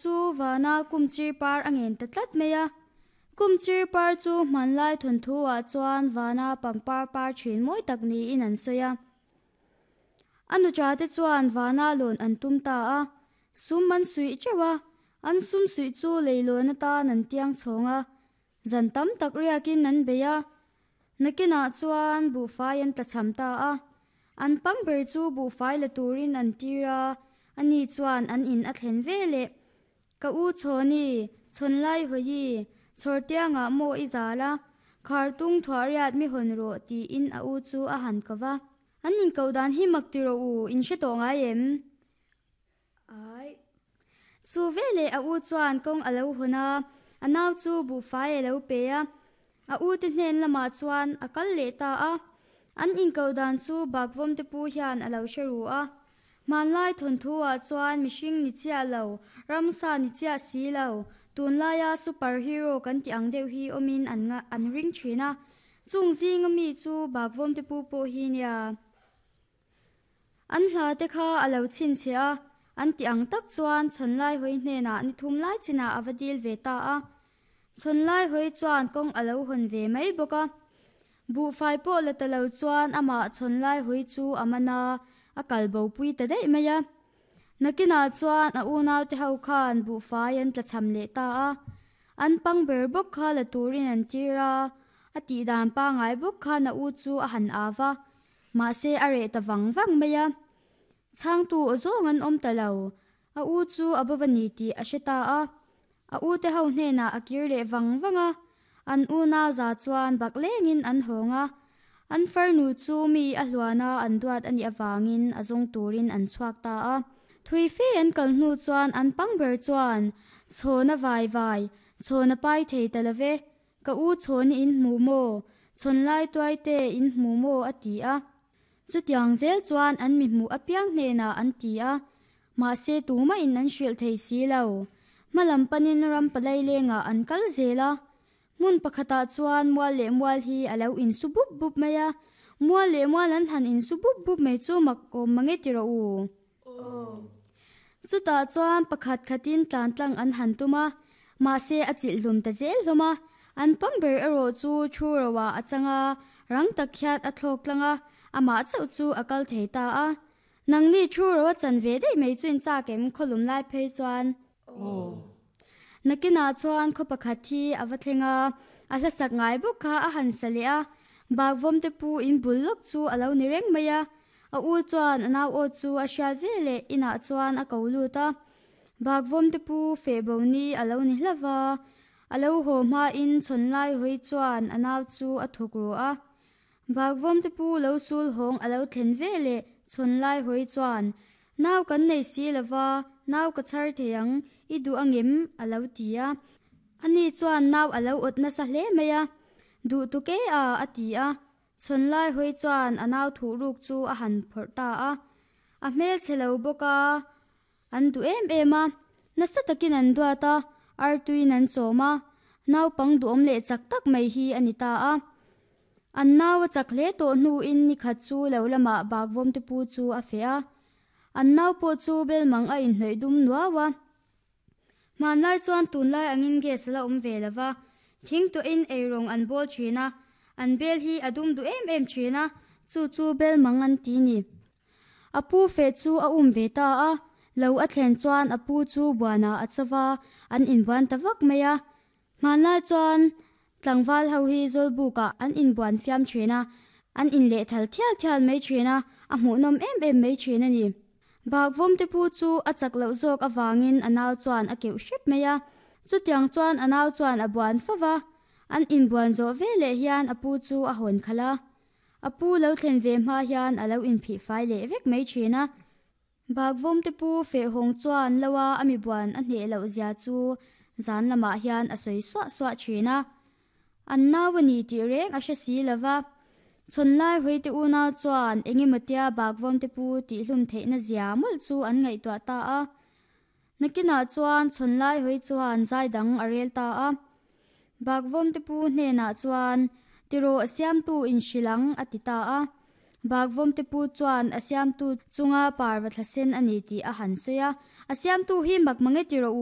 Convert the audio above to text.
chu vana kumchir par a ngen ta tlat mai a. Kumchir par chu hmanlai thawnthu-ah chuan vana pangpar par thin mawi tak niin an sawi a. A nucha te chuan vana lawn an tum ta a, sum an suih teuh a, an sum suih chu leilawn atan an tiang chhawng a, zan tam tak riakin an bei a. Nakinah chuan buhfai an tlachham ta a, an pang ber chu buhfai la turin an tir a, ani chuan an in a thlen ve leh. Ka u Chhawni, Chhawnlai hawi, Chhawrtiangah maw i zal a, Khartung thuahriat mi hawn rawh tiin a u chu a han ko va. An inkoh dan hi mak ti rawh u, in hre tawh ngai em? Ai. Chu veleh a u chuan kawng a lo hawn a, a nau chu buhfai a lo pe a. A u te hnen lamah chuan a kal leh ta a. An inkoh dan chu Bakvawm te pu hian a lo hre ru a. Hmanlai thawnthu ah chuan mihring ni chiah lo, ramsa ni chiah si lo, tunlaia super hero kan tih ang deuh hi awmin an an ring thin a. Chung zinga mi chu Bakvawm te pu pawh hi nia. An hla te kha a lo chhinchhe a, an ti ang tak chuan Chhawnlai hawi hnenah ni thum lai chinah a va dil ve ta a. Chhawnlai hawi chuan kawng a lo hawn ve mai bawk a. Buhfai pawh la ta lo chuan amah Chhawnlai hawi chu a man a, a kal bo pui ta daih mai a. Nakinah chuan a unaute ho khan buhfai an tlachham leh ta a. An pang ber bawk kha la turin an tir a, a tihdan pangai bawk khan a u chu a han av a. Mahse a reh ta vang vang mai a, chhangtu aw zawng an awm ta lo. A u chu a bova ni tih a hre ta a, a u te ho hnenah a kir leh vang vang a, an unau za chuan bak lengin an hawng a, an farnu chu mi a hluana an duat a nih avangin a zawng turin an chhuak ta a. Thui fe an kal hnu chuan an pang ber chuan, Chhawna vai vai, chhawna pai thei ta lo ve, Ka u chhawn in hmu maw? Chhawn lai tuai te in hmu maw? a ti a. Chutiang zel chuan an mi hmuh apiang hnenah an ti a, mahse tumah in an hrilh thei si lo. Hmalam panin ram palai lengah an kal zel a. Hmun pakhatah chuan mual leh mual hi a lo insu bup bup mai a, mual leh mual an han insu bup bup mai chu mak awm mange ti rawh u. Chutah chuan pakhat khatin tlan tlang an han tum a, mahse a chilh hlum ta zel hlawm a. An pang ber erawh chu thu roah a chang a, rang tak hian a thlawk tlang a, amah chauh chu a kal thei ta a. Nangni thu ro a chan ve daih mai chu in chak em khawlum lai phei chuan? Nakinah chuan khaw pakhat hi a va thleng a, a hlasak ngai bawk kha a han sa leh a, bakvawm te pu in bul lawk chu a lo ni reng mai a. A u chuan a nau aw chu a hriat ve leh inah chuan a ko lut a, bakvawm te pu feh bo ni a lo ni hlauh va, a lo haw hmain chhawn lai hawi chuan a nau chu a thawk ru a. Bakvawm te pu lo sul hawng a lo thlen ve leh chhawn lai hawi chuan, Nau kan nei si lo va, nau ka chhar thei ang, i duh angem? a lo ti a. Ani chuan nau a lo awt nasa hle mai a, Duh tuk e a, a ti a. Chhawn lai hawi chuan a nau thuh ruk chu a han phawrh ta a. A hmel chhe lo bawk a, an duh em em a. Nasa takin an duat a, artuiin an chawm a. Naupang duhawm leh chak tak mai hi a ni ta a. An nau a chak hle tawh hnuin nikhat chu lo lamah bakvawm te pu chu a feh a. An nau pawh chu belmang a inhnawih dum nuau a. Hmanlai chuan tunlai angin gas a la awm ve lo va, thing tuahin eirawng an bawl thin a, an bel hi a dum duh em em thin a, chu chu bel mang an ti ni. A pu feh chu a um ve ta a, lo a thlen chuan a pu chu buanah a cho va, an inbuan ta vak mai a. Hmanlai chuan tlangval ho hi Zawlbukah an inbuan fiam thin a, an inlehthal thial thial mai thin a, a hmuhnawm em em mai thin a ni. Bakvawm te pu chu a chak loh zawk avangin a nau chuan a keuh hrep mai a, chutiang chuan a nau chuan a buan fo va, an inbuan zawh veleh hian a pu chu a hawn khalh a. A pu lo thlen ve hma hian a lo inphih fai leh vek mai thin a. Bakvawm te pu Fehhawng chuan lo a a mibuan a hneh loh zia chu zan lamah hian a sawi suah suah thin a. An nau a ni tih reng a hre si lo va. Chhawn lai Hawite unau chuan eng emaw tia Bakvawm te pu tihhlum theihna zia mawlh chu an ngaihtuah ta a. Nakinah chuan chhawn lai hawi chuan zai dang a rel ta a. Bakvawm te pu hnenah chuan, Tirawh siamtu inhrilh ang, a ti ta a. Bakvawm te pu chuan a siamtu chunga parva thla sen a ni tih a han sawi a. A siamtu hi mak mange tirawh u.